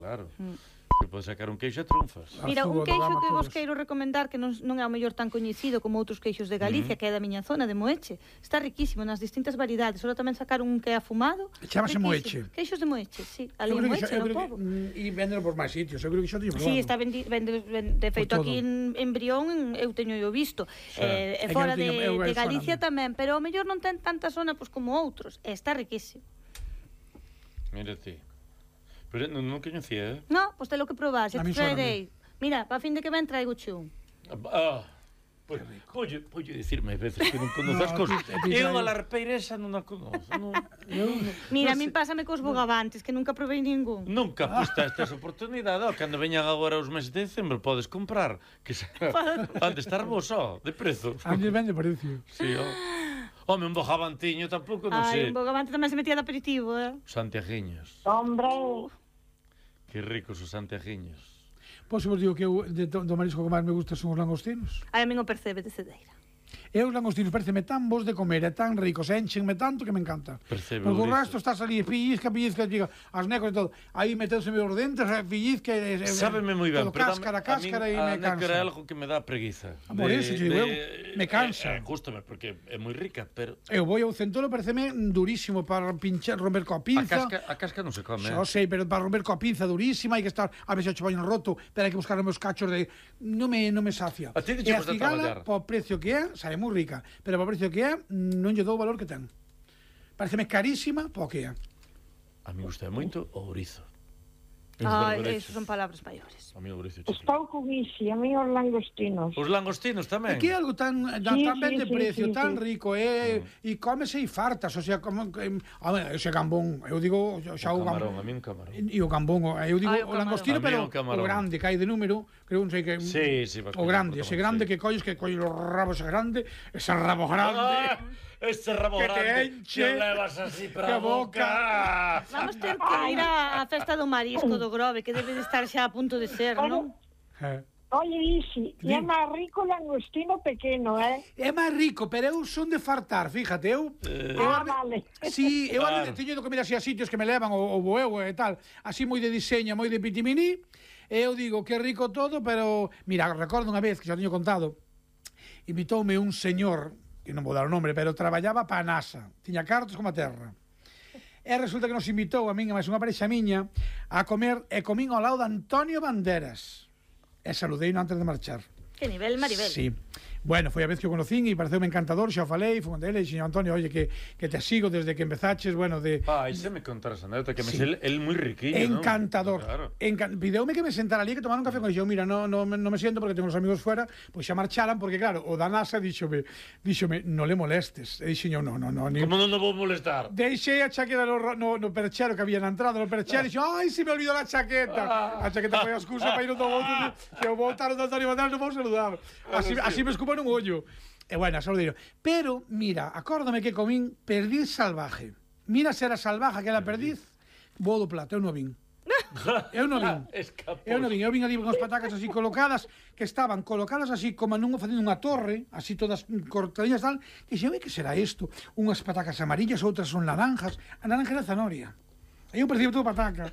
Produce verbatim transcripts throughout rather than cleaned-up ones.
Claro. Que podes sacar un queixo e trunfas. Mira, un queixo que vos queiro recomendar, que non, non é o mellor tan coñecido como outros queixos de Galicia, que é da miña zona, de Moeche. Está riquísimo nas distintas variedades. Solo tamén sacar un que é afumado. Chámase Moeche. Queixos de Moeche, sí. Ali en Moeche, no pobo. E vendelo por máis sitios. Eu creo que xa teño probado. Sí, está vendi, vende, vende, de feito aquí en, en Brión, eu teño eu visto. Sí. Eh, e fora de, de Galicia tamén, pero o mellor non ten tanta zona pues, como outros. E está riquísimo. Mira ti. Pero non, non coñecía, eh? No, pois pues te lo que probar, xa te traerei. Mira, para fin de que ven traigo chun. Ah, pois, pois, pois dicirme veces que non conoces cosas. Eu a la arpeira esa non a conozo. Non, eu, Mira, a min pásame cos bogavantes, que nunca provei ningún. Nunca, pois pues, esta oportunidade, oh, cando veñan agora os meses de diciembre, podes comprar, que han de estar vos, oh, de prezo. Antes vende precio. Sí, oh. Home, un bogavantiño tampouco, non sei. Ai, un bogavante tamén se metía de aperitivo, eh? Santiaguiños. Hombre... Que ricos os santiaguiños. Pois vos digo que eu, de, do marisco que máis me gusta son os langostinos. Ai, a mí non percebe de cedeira. E os langostinos pareceme tan bons de comer, e tan ricos, e enchenme tanto que me encanta. Percebe porque o resto estás ali, pillizca, pillizca, diga, as necos e todo. Aí meteuse os dentes, pillizca... E, sábeme moi ben, pero cáscara, cáscara e me cansa. A nécora é algo que me dá preguiza. Por de, eso, digo, de, eu, me cansa. Eh, eh, Gústame, porque é moi rica, pero... Eu vou ao centolo, pareceme durísimo para pinchar, romper coa pinza. A casca, a casca non se come. Xo sei, pero para romper coa pinza durísima, hai que estar, a ver se o chabaño roto, pero hai que buscar os meus cachos de... Non me, non me sacia. A ti e a cigala, po precio que é, sabe moi rica. Pero para o precio que é, non lle dou o valor que ten. Pareceme carísima, po que é. A mí gusta moito o ourizo. Ah, eso son palabras maiores. A mí o ourizo chiquillo. Estou con isi, a mí os langostinos. Os langostinos tamén. É que é algo tan, tan, sí, tan ben sí, de precio, sí, sí, tan sí. rico, e, mm. e cómese e fartas, o sea, como... A ver, ese gambón, eu digo... Xa o camarón, gambón, a mí un camarón. E o gambón, eu digo Ay, o, o langostino, pero o grande, que hai de número, creo, non sei que... Sí, sí, o grande, ese grande que colles, que colles os rabos grande, ese rabo grande... Ah, ese rabo que grande, te enche, que levas así para a boca. boca. Vamos ter que ir á festa do marisco do Grove, que debe de estar xa a punto de ser, non? Eh. Oye, Isi, e é máis rico o langostino pequeno, eh? É máis rico, pero eu son de fartar, fíjate, eu... Eh. eu Ah, vale. Si, eu Claro. teño de comer así a sitios que me levan o, o boeu e tal, así moi de diseño, moi de pitiminí, e eu digo que é rico todo, pero... Mira, recordo unha vez, que xa teño contado, invitoume un señor, que non vou dar o nombre, pero traballaba pa a NASA, tiña cartos como a terra. E resulta que nos invitou a min e máis unha parexa miña a comer, e comín ao lado de Antonio Banderas. E saludei antes de marchar. Que nivel, Maribel. Sí. Bueno, foi a vez que o conocín e pareceume encantador, xa o falei, foi con dele, e dixen, Antonio, oye, que, que te sigo desde que empezaches, bueno, de... Pa, e se me contaras a anécdota, que me Sí. sé, el moi riquillo, Encantador. ¿no? Claro. Encan Pideume que me sentara ali, que tomara un café con dixo, mira, no, no, no me siento porque tengo os amigos fuera, pois xa marcharan, porque claro, o da NASA díxome, díxome, no le molestes. E dixen yo, no, no, no, ni... Como non nos vou molestar? Deixei a chaqueta no, no, no perchero que había na entrada, no perchero, e dixo, ai, se me olvidou a chaqueta. A chaqueta foi a excusa para ir do outro, que o voltaron do Antonio Banderas, non vou saludar. Así, así me escupa nun ollo. E bueno, saludeiro. Pero, mira, acórdame que comín perdiz salvaje. Mira se era salvaje que era perdiz, vou do plato, eu non vin. Eu non vin. Eu non vin, eu vin ali unhas patacas así colocadas, que estaban colocadas así como non facendo unha torre, así todas cortadillas tal, que xe, que será isto? Unhas patacas amarillas, outras son naranjas, a naranja era zanahoria. Eu percibo todo pataca.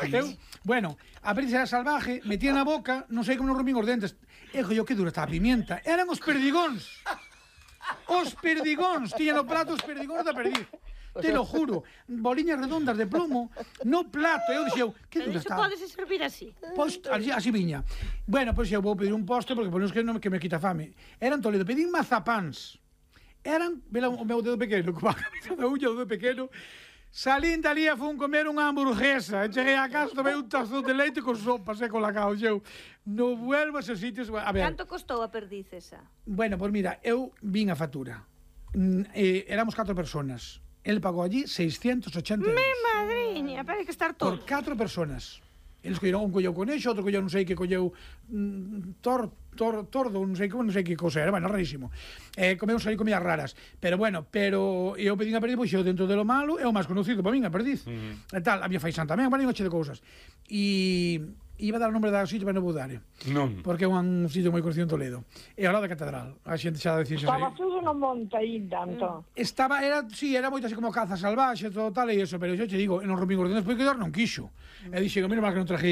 Eu, bueno, a perdiz era salvaje, metía na boca, non sei como non rompín os dentes. E yo, que dura está a pimienta. Eran os perdigóns. Os perdigóns. Tiñan no plato os perdigóns da perdiz. Te lo juro. Boliñas redondas de plomo no plato. Eu dixeu, que dura está. Pero iso pode servir así. Pois, así, así viña. Bueno, pois eu vou pedir un postre, porque por que non que me quita fame. Eran Toledo, pedín mazapáns. Eran, vela o meu dedo pequeno, como a cabeza da uña do dedo pequeno. Salín dali a fun comer unha hamburguesa. Cheguei a casa, tomei un tazón de leite con sopa, e con la cao. Eu non vuelvo a esos sitios. A ver. Canto costou a perdiz esa? Bueno, pois pues mira, eu vin a factura. Mm, eh, éramos catro personas. El pagou allí seiscientos ochenta euros. Mi madriña, para que estar todo. Por catro personas. Eles colleron, un colleu conexo, outro colleu non sei que colleu mm, tor, tor, tordo, non sei como, non sei que cosa era, bueno, rarísimo. Eh, comemos ali comidas raras. Pero bueno, pero eu pedín a perdiz, pois eu dentro de lo malo, é o máis conocido para min, a perdiz. Uh -huh. E tal, había faisán tamén, bueno, noche de cousas. E iba a dar o nombre da sitio, pero non vou dar. Non. Porque é un sitio moi conocido en Toledo. E ao lado da catedral. A xente xa decía xa. Estaba todo no monte aí, tanto. Estaba, era, sí, era moito así como caza salvaxe, todo tal e eso, pero eu te digo, non rompín os dedos porque quedar non quixo. E dixen, mira, má que non traje